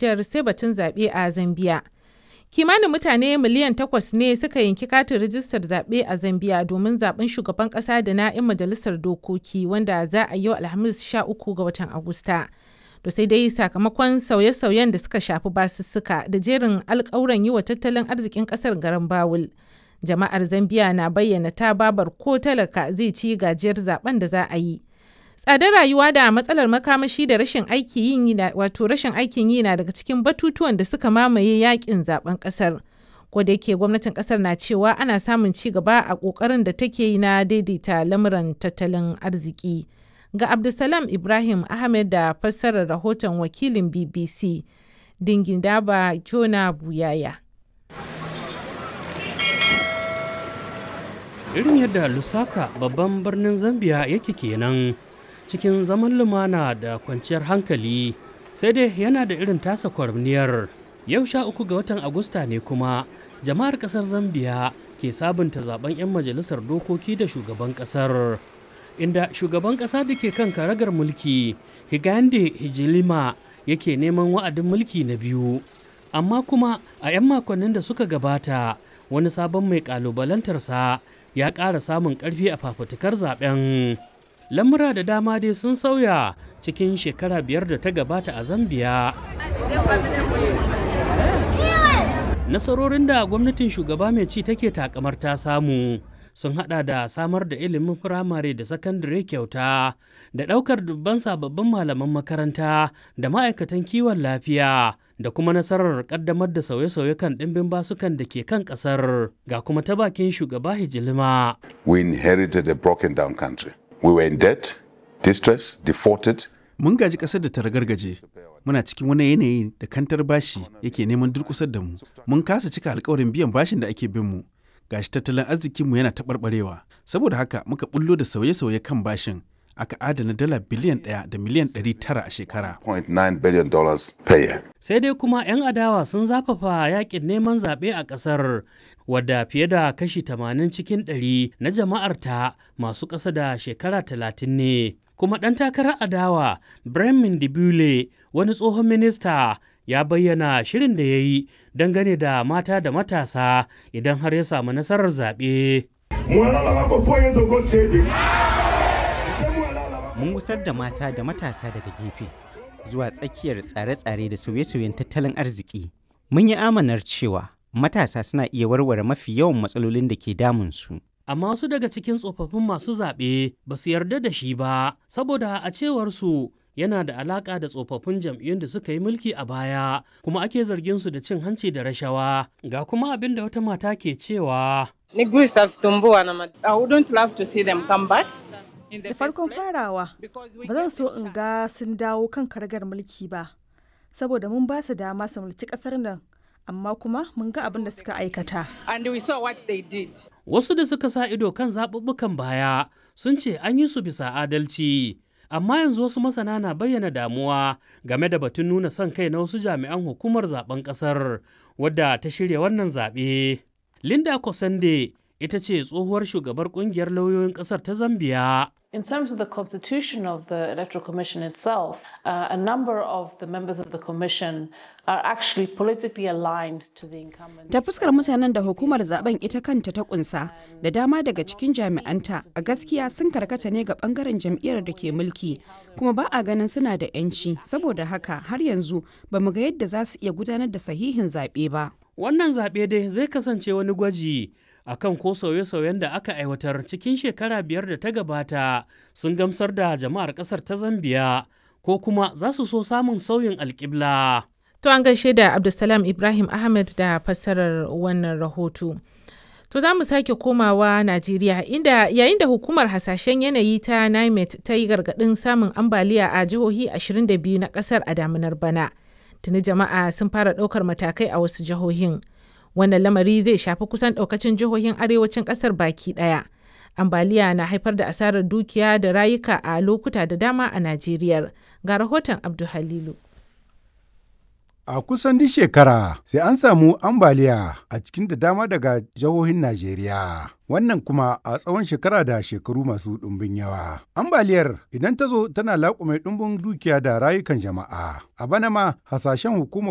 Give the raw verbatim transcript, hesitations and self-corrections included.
Nijar sai batun zaɓe a Zambiya. Kimanin mutane miliyan takwas ne suka yanki katin rijistar zaɓe a Zambiya domin zaɓen shugaban ƙasa da na 'yan majalisar dokoki wanda za a yi yau Alhamis sha uku ga watan Agusta. To sai dai sakamakon sauye-sauyen da suka shafi basussuka da jerin alƙawuran yi wa tattalin arzikin ƙasar garan bawul. Jama'ar Zambiya na bayyana ta babar ko talaka zai ci gajiyar zaben da za a yi. Tsadar rayuwa da matsalar makamashi da rashin aikin yi wato rashin aikin yi na daga cikin batutuwan da suka mamaye yakin zaben kasar. Ko da yake gwamnatin kasar na cewa ana samun ci gaba a kokarin da take yi na daidaita lamuran tattalin arziki. Ga Abdulsalam Ibrahim Ahmed da fassarar rahoton wakilin B B C Dingindaba Jona Buyaya. Irin yadda Lusaka, babban birnin Zambia, yake kenan cikin zaman lumana da kwanciyar hankali, sai dai yana da irin tasa kwarniyar. Yau sha uku ga watan Agusta ne kuma jama'ar kasar Zambia ke sabunta zaben 'yan majalisar dokoki da shugaban kasar, inda shugaban kasa da ke kan karagar mulki Higande Hijilima yake neman wa'adin mulki na biyu. Amma kuma a 'yan makonnin da suka gabata, wani sabon mai kalubalantarsa ya ƙara samun ƙarfi a fafutukar zaben. Lamura da dama dai sun sauya cikin shekara biyar da ta gabata a Zambiya. Nasarorin da gwamnatin shugaba mai ci take takamar ta samu sun hada da samar da ilimin firamare da sakandare kyauta da daukar dubban sababbin malaman makaranta da ma'aikatan kiwon lafiya da kuma nasarar kaddamar da sauye-sauye kan dimbin basukan da ke kan kasar. Ga kuma ta bakin shugaba Hijilima. We inherited a broken down country. We were in debt, distress, defaulted. Mun gaji ƙasar da ta ragargaje. Muna cikin wani yanayi da kantar bashi yake neman durƙusar da mu. Mun kasa cika alkawarin biyan bashin da ake bin mu. Gashi tattalin arzikinmu yana taɓarɓarewa. Saboda haka muka bullo da sauye-sauye kan bashin. Aka adana dala biliyan ɗaya da miliyan ɗari tara a shekara. zero point nine billion dollars per year. Sai dai kuma 'yan adawa sun zafafa yakin neman zaɓe a ƙasar, wadda fiye da kashi tamanin cikin ɗari na jama'arta masu ƙasa da shekara talatin ne. Kuma ɗan takarar adawa Bremen Dibule, wani tsohon minista, ya bayyana shirin da ya yi dangane da mata da matasa idan har ya samu nasarar zaɓe. Mun gusar da mata da matasa daga gefe zuwa tsakiyar tsare-tsare da sauye-sauyen tattalin arziki. Mun yi amanar cewa matasa suna iya warware mafi yawan matsalolin da ke damunsu. Amma wasu daga cikin tsofaffin masu zaɓe ba su yarda da shi ba, saboda a cewar su yana da alaƙa da tsofaffin jam'iyyun da suka yi mulki a baya, kuma ake zargin su da cin hanci da rashawa. Ga kuma abin da wata mata ke cewa. I wouldn't love to see them come back. Da farkon farawa, ba zan so in ga sun dawo kan karagar mulki ba, saboda mun ba su dama su mulki kasar nan, amma kuma mun ga abin da suka aikata. And we saw what they did. Wasu da suka sa ido kan zaɓuɓɓukan baya sun ce an yi su bisa adalci. Amma yanzu wasu masana na bayyana damuwa game da batun nuna son kai na wasu jami'an hukumar zaben ƙasar wadda ta shirya wannan zaɓe. Linda Kosande ita ce tsohuwar shugabar ƙungiyar lauyoyin ƙasar ta Zambiya. In terms of the constitution of the Electoral Commission itself, uh, a number of the members of the Commission are actually politically aligned to the incumbent. Ta fuskar mutanen da hukumar zaben ita kanta ta kunsa, da dama daga cikin jami'anta a gaskiya sun karkata ne ga bangaren jam'iyyar da ke mulki, kuma ba a ganin suna da 'yanci, saboda haka har yanzu ba mu ga yadda za su iya gudanar da sahihin zaɓe ba. Wannan zaɓe dai zai kasance wani gwaji akan ko sauye-sauyen da aka aiwatar cikin shekara biyar da ta gabata sun gamsar da jama'ar kasar ta Zambiya, ko kuma za su so samun sauyin alƙibla. To, an gaishe da Abdulsalam Ibrahim Ahmed da fassarar wannan rahoto. To, za mu sake komawa Najeriya, inda yayin da hukumar hasashen yanayi ta NIMET ta yi gargaɗin samun ambaliya a jihohi ashirin da biyu na ƙasar a daminar bana. Tuni jama'a sun fara ɗaukar matakai a wasu jihohin. Wannan lamari zai shafi kusan ɗaukacin jihohin arewacin ƙasar baki ɗaya. Ambaliya na haifar da asarar dukiya da rayuka a lokuta da dama a Najeriya. Ga rahoton Abdu Halilu. A kusan duk shekara sai an samu ambaliya a cikin da dama daga jihohin Najeriya. Wannan kuma a tsawon shekara da shekaru masu ɗumbin yawa. Ambaliyar idan ta zo tana laƙume ɗumbin dukiya da rayukan jama'a. A bana ma hasashen hukumar